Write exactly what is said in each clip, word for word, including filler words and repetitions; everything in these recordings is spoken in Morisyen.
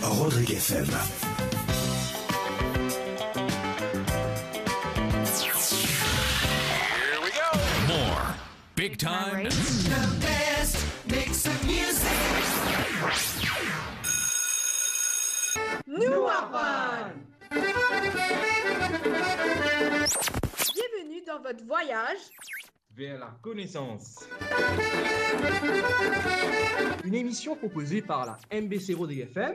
Rodrigue F M. More big time. The best mix of music. Nou aprann. Bienvenue dans votre voyage vers la connaissance. Une émission proposée par la M B C Rodrigue F M.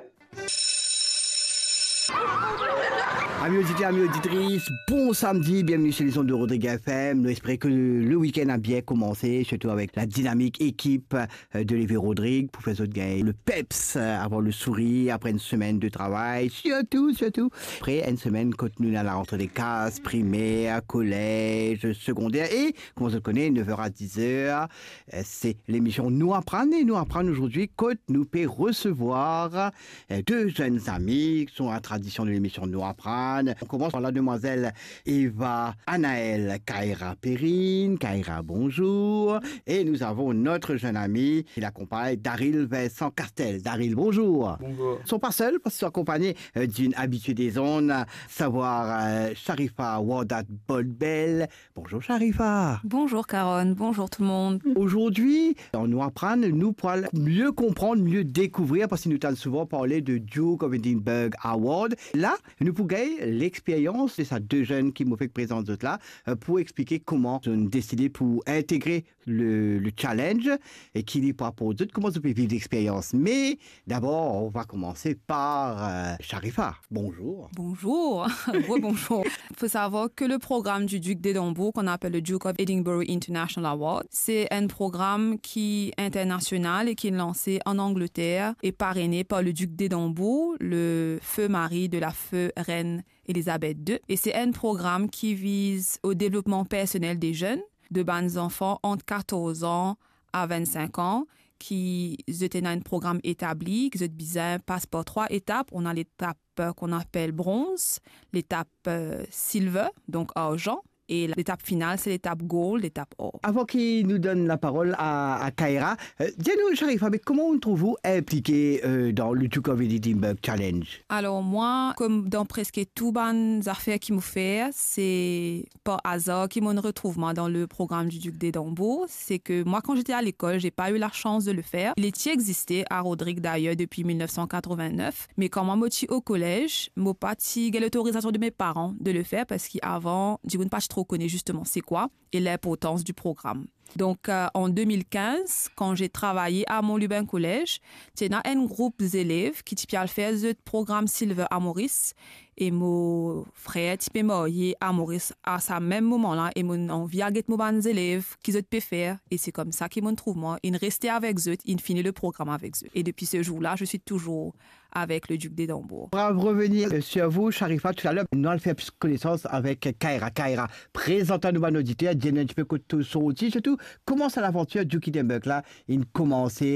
Ami oditer, ami oditris, bon samedi, bienveni sur les ondes de Rodrigue F M. Nou espere ke le week-end a bien komanse, sirtou avek la dinamik ekip, euh, de Lever Rodrigue pou fer zot gagn le peps, euh, avoir le sourir apre enn semenn de travay, sirtou, sirtou apre enn semenn kot nou ena la rantre de klas, primer, kolez, segonder e, kouma zot kone, nev er a diz er, euh, se lemision Nou Aprann. E Nou Aprann azordi kot nou pe resevwar, euh, de zenn zami ki son la tradision de lemision Nou Aprann. On koumans par la demwazel Eva Anaël Kaira Perrine. Kaira, bonzour. E nou avon not zenn ami ki lakonpagn, Daril Vincent Castel. Daril, bonzour. Bonzour. Son pa sel, parski son akonpagne, euh, d'une habituée des ondes, savwar, euh, Sharifa Wardat Bolbel. Bonzour Sharifa. Bonzour Karon, bonzour tout le monde. Azordi, dan Nou Aprann, nou pou al mie konprann, mie dekouvrir, parski nou tann souvan parle de Duke of Edinburgh Award. La, nou pou gagn lexperyans de sa de zenn ki mo fek prezant zot la, euh, pou explike kouma zot inn deside pou integre le, le challenge e ki li pou aport zot, kouma zot pe viv lexperyans. Me dabor, on va komanse par, euh, Sharifa. Bonzour. Bonzour. Rebonzour. Faut savoir que le programme du Duc d'Édimbourg, qu'on appelle le Duke of Edinburgh International Award, c'est un programme qui est international et qui est lancé en Angleterre et parrainé par le Duc d'Édimbourg, le feu mari de la feu reine Elisabeth deux. Et c'est un programme qui vise au développement personnel des jeunes, de bann zanfan ant katorz an a vennsenk an, ki zot ena enn program etabli, ki zot bizin pas par trwa etap. On a l'étape, euh, qu'on appelle bronze, l'étape, euh, silver, donc argent, et l'étape finale, c'est l'étape gold, l'étape or. Avan ki nou donn laparol a, a Kaira, euh, dir nou, Sharifa, me kouma ou trouv ou inplike, euh, dan le Duke of Edinburgh Challenge? Alors moi, comme dans presque tout bann zafer ki mo fer, c'est par hasard ki mo'nn retrouv mwa dan le programme du Duc d'Édimbourg, c'est que moi, quand j'étais à l'école, j'ai pas eu la chance de le faire. Li ti existe a Rodrig d'ailleurs depuis mil nef san katrovin-nef, me kan mwa mo ti o kolez, mo pa ti gagn lotorizasion de mes parents de le faire, parski avan, dimoun pa ti tro kone zisteman se kwa e linportans di program. Donc, euh, en deux mille quinze, quand j'ai travaillé à Mont-Lubin Collège, ti ena enn group zelev ki ti pe al fer zot program Silver a Moris, e mo frer ti pe marye a Moris a sa mem moman la, e mo'nn anvi al get mo bann zelev ki zot pe fer, e se koumsa ki mo'nn trouv mwa, inn reste avek zot, inn fini le program avek zot. Et depuis ce jour-là, je suis toujours avec le Duc d'Édimbourg. On va revenir, euh, sur vous, Sharifa, tout à l'heure. Nou al fer plis konesans avek Kaira. Kaira, prezant anou bann oditer, dir nou enn tipe kot to sorti, sirtou kouma sa lavantir Duke Edinburgh la inn koumanse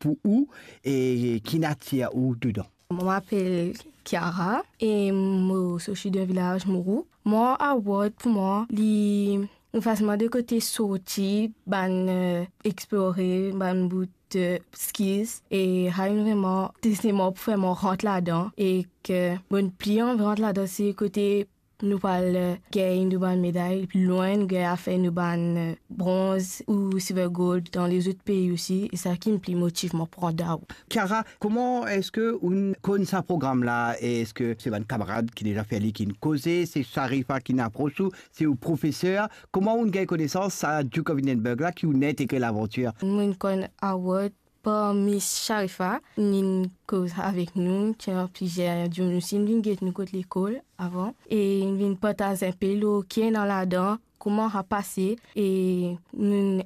pou ou e ki natir ou dedan. Mo apel Kiara e mo sorti dan vilaz Mourou. Mwa award pou mwa, li, li fas mwa de kote sorti bann, euh, explore bann bout, euh, skills e sa inn vreman teste mwa pou fer mwa rant ladan e ki mo'nn pli anvi rant ladan, se kote nou pou al, euh, gagn nou bann meday, pli lwin nou gagn al fer nou bann, euh, bronz ou silver gold dan lezot pei osi, e sa ki'nn pli motiv mwa pou rant dan. Kiara, kouma eski ou'nn konn sa program la? Eski se bann kamarad ki deza fer li ki'nn koze, se Sharifa ki'nn apros ou, se ou profeser? Kouma ou'nn gagn konesans sa Duke of Edinburgh la ki ou'nn integre lavantir? Mo'nn konn award par Miss Sharifa, inn koz avek nou, ti ena plizier dimoun osi inn vinn get nou kot lekol avan, e inn vinn partaz enpe lor ki ena ladan, kouma sa pase, e nou inn